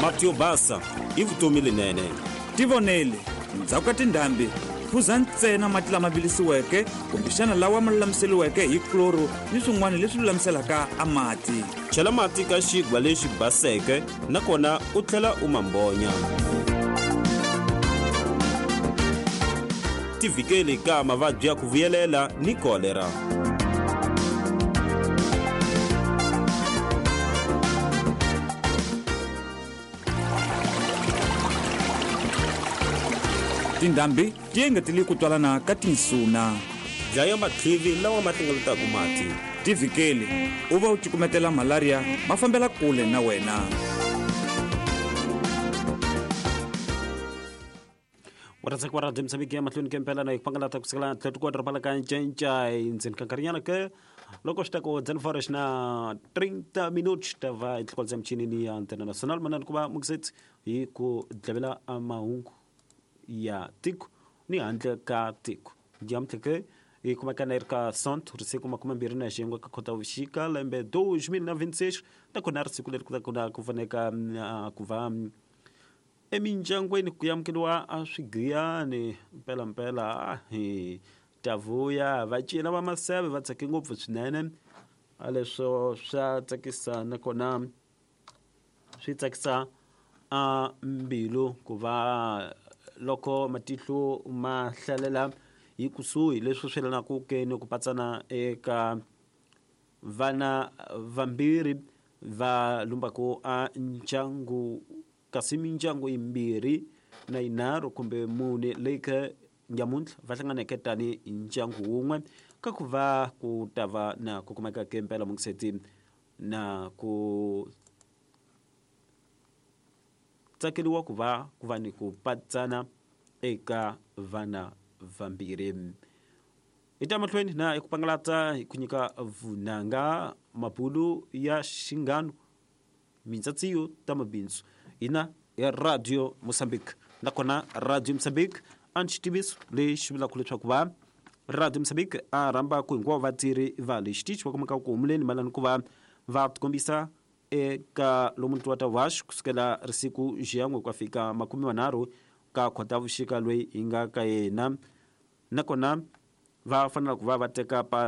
Mati yo basa i vutomi lenene. Tivonele, ndzhaku ka tindhambi, phuza ntsena mati lama vilisiweke kumbexana lawa ma lulamiseriweke hi kloro ni swin'wana leswi lulamiselaka a mati. Chela mati ka xigwa lexi baseke nakona u tlhela u ma mbonya. Tivhikeli ka mavabyi ya ku vuyelela ni kolera. Tindhambi ti engetele ku twalana ka tinsuna. Dlaya matlhivi lawa ma hlengeletaka mati. Tivhikeli u va u cukumetela malaria ma fambela kule na wena. Warhandzaka wa radio Mozambique ya mahlweni ke mpela na hi pangalata ku sukela tlhelo ku doroba la ka Ncencai ndzeni ka nkarhinyana ke loko swi ta ku 19 na 30 minutos ta va hi tlhelo michinini ya Antena Nacional manani ku va mukisetsi hi ku dlavela mahungu ya tiko ni handle ka tiko nyamuntlha ke hi kumeka na yi ri ka sont risiku makumembirhi na xin'we ka khotavuxika lembe 2026 nakona risiku leri ku na ku faneka ku va emindyangwini ku amukeriwa a swigiyani mpelampela hi ta vuya va cina va maseve va tsake ngopfu swinene a leswo swa tsakisa nakona swi tsakisa a mbilu ku va loko matihlo ma hlalela hi kusuhi leswi swi yelanaka ke ni ku patsana eka vana vambirhi va lumbaka a ndyangu kasi mindyangu yimbirhi na yinharhu kumbe mune leyi ke nyamuntlha va hlanganeke tani hi ndyangu wun'we ka ku va ku ta va na ku kumeka ke mpela mungiseti na ku tsakeriwa ku va ku va ni ku patsana eka vana vambirhi hi ta mahlweni na hi ku pangalata hi ku nyika vunanga mabulu ya xinghano mintsatsiyo ta mabindzu hina ya radio Mozambique nakona radio Mozambique a ni xitiviso lexi vulaka leswaku va radio Mozambique a rhamba ku hinkwavo vatirhi va le xitichi va kumeka ku humuleni mayelana ku va va tikombisa eka lomu ntiwa ta vaxi kusukela risiku xiyan'we ku ya fika makume manharhu ka khotavuxika loyi hi nga ka yena nakona va fanela ku va va teka pa.